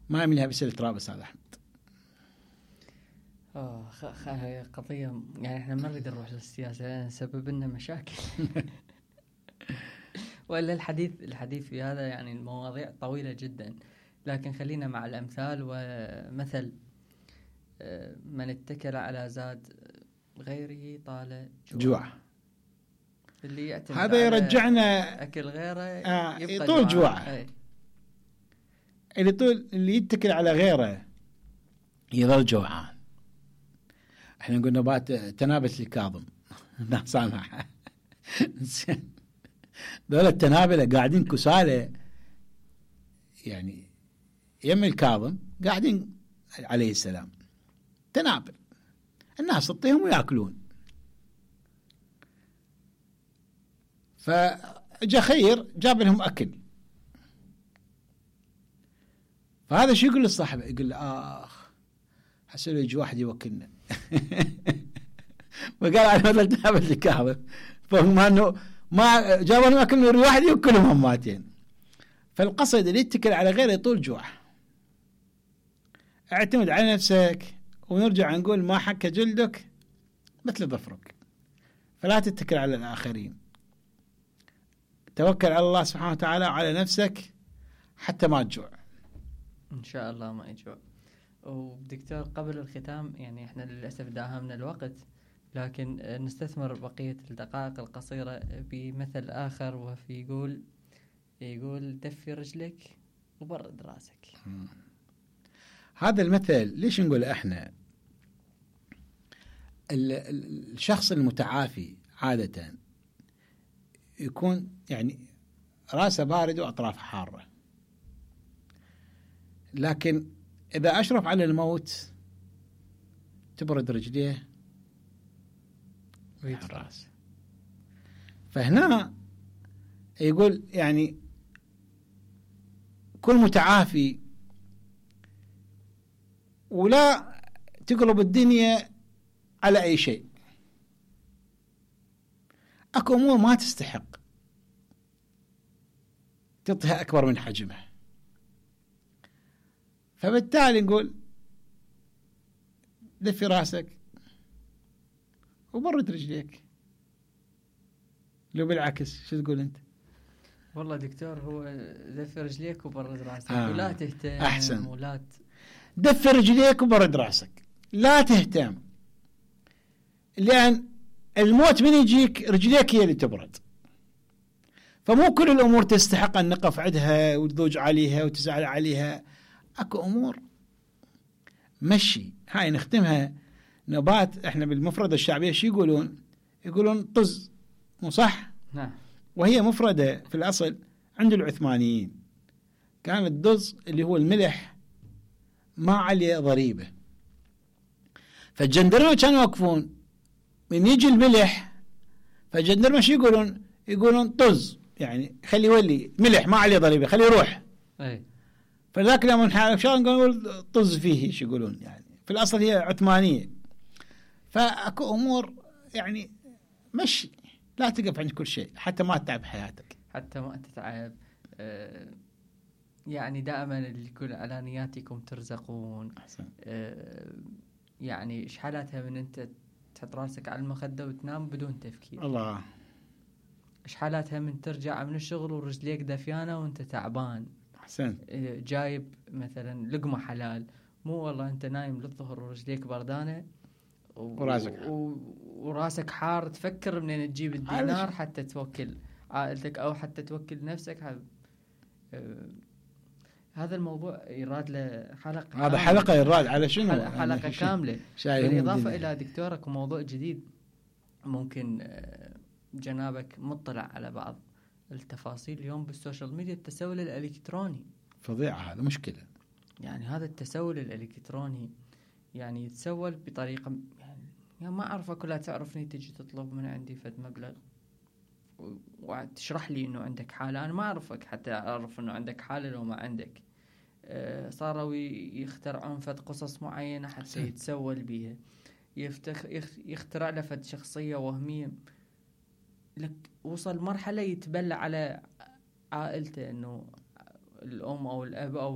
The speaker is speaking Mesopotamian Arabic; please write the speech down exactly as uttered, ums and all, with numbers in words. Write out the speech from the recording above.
ما يمليها بسلة تراب استاذ احمد. اه خ... خ... قضية يعني احنا ما نريد نروح للسياسة لأن سبب لنا مشاكل. وإلا الحديث الحديث في هذا يعني المواضيع طويلة جدا، لكن خلينا مع الأمثال. ومثل من اتكل على زاد غيره طال جوع, جوع. اللي يعتمد هذا يرجعنا أكل غيره آه يطول جوعه. اللي طول اللي يتكل على غيره يظل جوعان. احنا نقول نبات تنابت الكاظم لا سامح. دول التنابلة قاعدين كسالة يعني يم الكاظم قاعدين عليه السلام تنابل، الناس تطيهم ويأكلون. فجاء خير جاب لهم أكل، فهذا شو يقول للصاحب؟ يقول له آخ حسن يجي واحد يوكلنا. وقال على مثل تنابل الكاظم، فهم أنه ما جابوا لهم أكل من واحد يوكلهم هماتين. فالقصد اللي يتكل على غيره يطول جوع. اعتمد على نفسك، ونرجع نقول ما حك جلدك مثل ظفرك، فلا تتكل على الآخرين. توكل على الله سبحانه وتعالى على نفسك حتى ما تجوع إن شاء الله ما يجوع. ودكتور قبل الختام يعني احنا للأسف داهمنا الوقت، لكن نستثمر بقية الدقائق القصيرة بمثل آخر، وفي يقول يقول دفي رجلك وبرد راسك. هذا المثل ليش نقول احنا الشخص المتعافي عادة يكون يعني راسه بارد وأطرافه حارة، لكن إذا أشرف على الموت تبرد رجليه ويتراس. فهنا يقول يعني كل متعافي ولا تقلب الدنيا على أي شيء. أكو أمور ما تستحق تعطيها أكبر من حجمها، فبالتالي نقول دفي راسك وبرد رجليك. لو بالعكس شو تقول أنت؟ والله دكتور هو دفي رجليك وبرد راسك. آه. ولا تهتم أحسن. ولا ت... دفي رجليك وبرد راسك، لا تهتم، لأن الموت من يجيك رجليك هي اللي تبرد. فمو كل الأمور تستحق أن نقف عندها وتضوج عليها وتزعل عليها. أكو أمور مشي هاي نختمها نبات. إحنا بالمفردة الشعبية شو يقولون؟ يقولون طز، مو صح؟ نعم. وهي مفردة في الأصل عند العثمانيين كان الدز اللي هو الملح ما عليه ضريبة، فالجندرمة كانوا يوقفون من يجي الملح، فالجندرمة شو يقولون؟ يقولون طز، يعني خلي يولي ملح ما عليه ضريبة خلي يروح. أي. فذاك لما نحارب شلون نقول طز فيه شو يقولون؟ يعني في الأصل هي عثمانية. فأكو أمور يعني مشي، لا تقف عند كل شيء حتى ما تتعب حياتك. حتى ما تتعب. أه يعني دائما اللي يقول على نياتكم ترزقون. أحسن. أه يعني إيش حالاتها من أنت تحط راسك على المخدة وتنام بدون تفكير؟ الله. إيش حالاتها من ترجع من الشغل ورجليك دفيانة وأنت تعبان؟ أحسن. أه جايب مثلا لقمة حلال، مو والله أنت نايم للظهر ورجليك بردانة وراسك و... وراسك حار، تفكر منين تجيب الدينار حتى توكل عائلتك أو حتى توكل نفسك. ه... أه... هذا الموضوع يراد له حلقة. هذا حلقة يراد على شنو؟ حلقة, حلقة يعني كاملة. بالإضافة إلى دكتورك وموضوع جديد ممكن جنابك مطلع على بعض التفاصيل اليوم بالسوشيال ميديا. التسول الإلكتروني فظيعة، هذا مشكلة. يعني هذا التسول الإلكتروني يعني يتسول بطريقة يعني, يعني ما أعرف كلها. تعرفني تجي تطلب من عندي فد مبلغ وتشرح لي إنه عندك حالة، أنا ما أعرفك حتى أعرف إنه عندك حالة لو ما عندك. أه صاروا يخترعون فد قصص معينة حتى يتسول بيها. يفتخ يخترع له فد شخصية وهمية لك. وصل مرحلة يتبلى على عائلته إنه الأم أو الأب أو